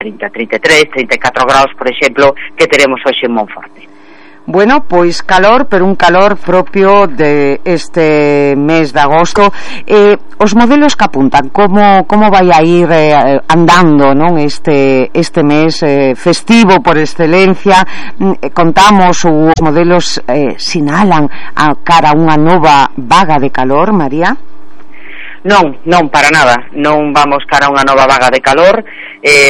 30, 33, 34 graus, por exemplo, que teremos hoxe en Monforte. Bueno, pois calor, pero un calor propio de este mes de agosto. Os modelos que apuntan, como vai a ir andando, non, este mes festivo por excelencia? Contamos, os modelos sinalan a cara a unha nova vaga de calor, María? Non, para nada. Non vamos cara a unha nova vaga de calor,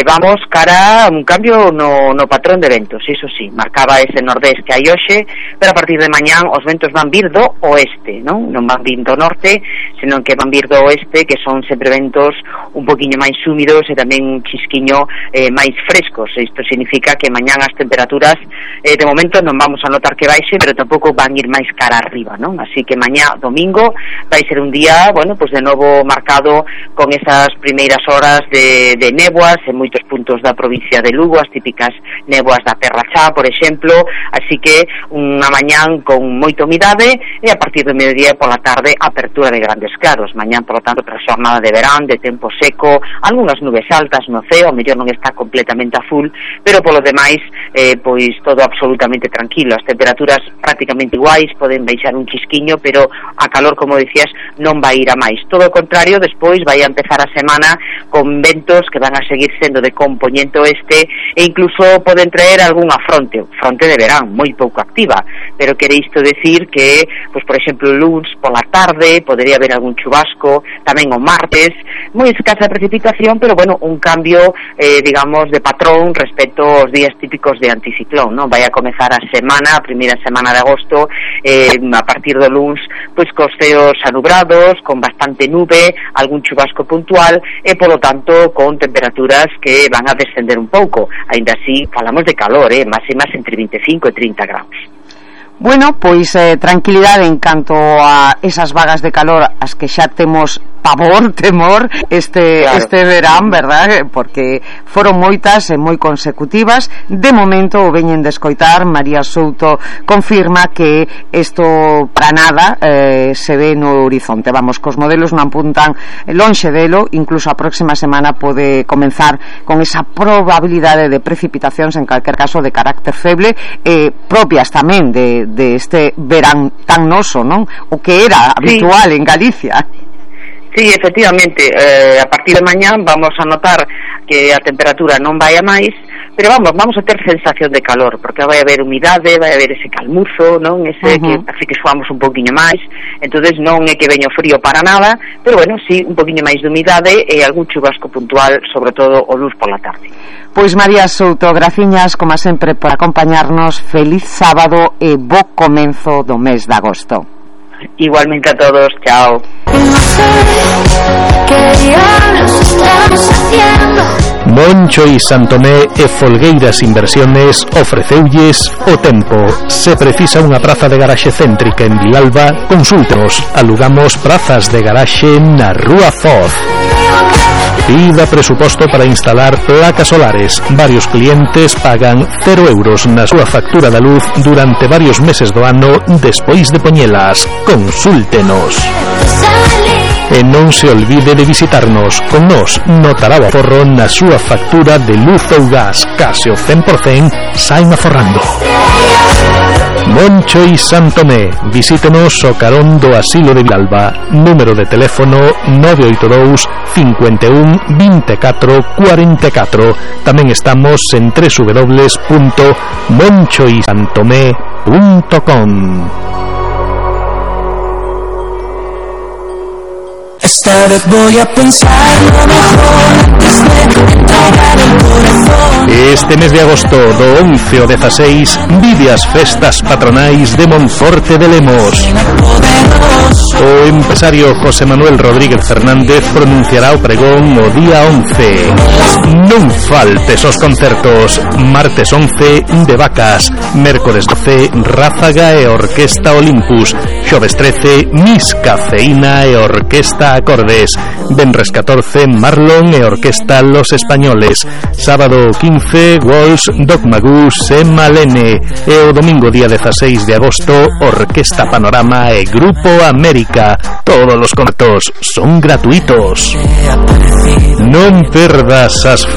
vamos cara a un cambio no patrón de ventos. Iso sí, marcaba ese nordés que hai hoxe, pero a partir de mañán os ventos van vir do oeste, non van vir do norte, senón que van vir do oeste, que son sempre ventos un poquinho máis húmidos e tamén un chisquiño máis frescos. Isto significa que mañán as temperaturas de momento non vamos a notar que baixe, pero tampouco van ir máis cara arriba, non? Así que mañá, domingo, vai ser un día, bueno, pues de novo marcado con esas primeiras horas de néboas en moitos puntos da provincia de Lugo, as típicas néboas da Terra Chá, por exemplo, así que unha mañán con moita humidade e a partir do mediodía pola tarde apertura de grandes claros. Mañán, por lo tanto, para a xornada de verán, de tempo seco, algunhas nubes altas no ceo, o mellor non está completamente a full, pero polo demais, pois todo absolutamente tranquilo. As temperaturas prácticamente iguais, poden baixar un chisquiño, pero a calor, como decías, non vai ir a máis. Todo o contrario, despois vai a empezar a semana con ventos que van a seguir sendo de compoñente oeste e incluso poden traer algunha fronte de verán, moi pouco activa, pero quere isto decir que, pois por exemplo, o luns pola tarde podería haber algún chubasco, tamén o martes, moi escasa precipitación, pero bueno, un cambio, digamos, de patrón respecto aos días típicos de anticiclón, non? Vai a comezar a semana, a primeira semana de agosto, a partir do luns, pois cos ceos anubrados, con bastante nube, algún chubasco puntual e, polo tanto, con temperaturas que van a descender un pouco. Ainda así, falamos de calor, máximas entre 25 e 30 graus. Bueno, pois tranquilidade en canto a esas vagas de calor as que xa temos temor este verán, verdad? Porque foron moitas e moi consecutivas. De momento o veñen de escoitar. María Souto confirma que isto para nada se ve no horizonte. Vamos, cos modelos non apuntan lonxe delo. Incluso a próxima semana pode comenzar con esa probabilidade de precipitacións, en calquer caso de carácter feble, propias tamén de este verán tan noso, non? O que era habitual en Galicia. Sí, efectivamente, a partir de mañán vamos a notar que a temperatura non vai a máis, pero vamos a ter sensación de calor, porque vai haber humidade, vai haber ese calmuzo, non? Ese que parece que suamos un poquinho máis, entonces non é que veño frío para nada, pero bueno, sí, un poquinho máis de humidade e algún chubasco puntual, sobre todo o luz pola tarde. Pois María Souto, graciñas, como sempre, por acompañarnos. Feliz sábado e bo comenzo do mes de agosto. Igualmente a todos, chao. Moncho y Santomé e Folgueiras Inversiones ofreceulles o tempo. Se precisa unha praza de garaxe céntrica en Vilalba, consúltenos. Alugamos prazas de garaxe na Rúa Foz. Pida presuposto para instalar placas solares. Varios clientes pagan 0 euros na súa factura da luz durante varios meses do ano despois de poñelas. Consúltenos. E non se olvide de visitarnos. Con nos notará o aforro na súa factura de luz ou gas. Case o 100% saen aforrando. Moncho y Santomé. Visítenos o carón do Asilo de Vilalba. Número de teléfono 982 51 24 44. Tamén estamos en www.monchoysantomé.com. Esta vez voy a pensar lo mejor antes de entregar el corazón. Este mes de agosto do 11 ao 16 vive as festas patronais de Monforte de Lemos. O empresario José Manuel Rodríguez Fernández pronunciará o pregón o día 11. Non faltes os concertos. Martes 11 de Vacas, mércores 12 Ráfaga e Orquesta Olympus, xoves 13 Mis Cafeína e Orquesta Acordes, venres 14 Marlon e Orquesta Los Españoles, sábado 15 Walls, Dogma Goose e Malene, e o domingo día 16 de agosto Orquesta Panorama e Grupo América. Todos los concertos son gratuitos. Non perdas as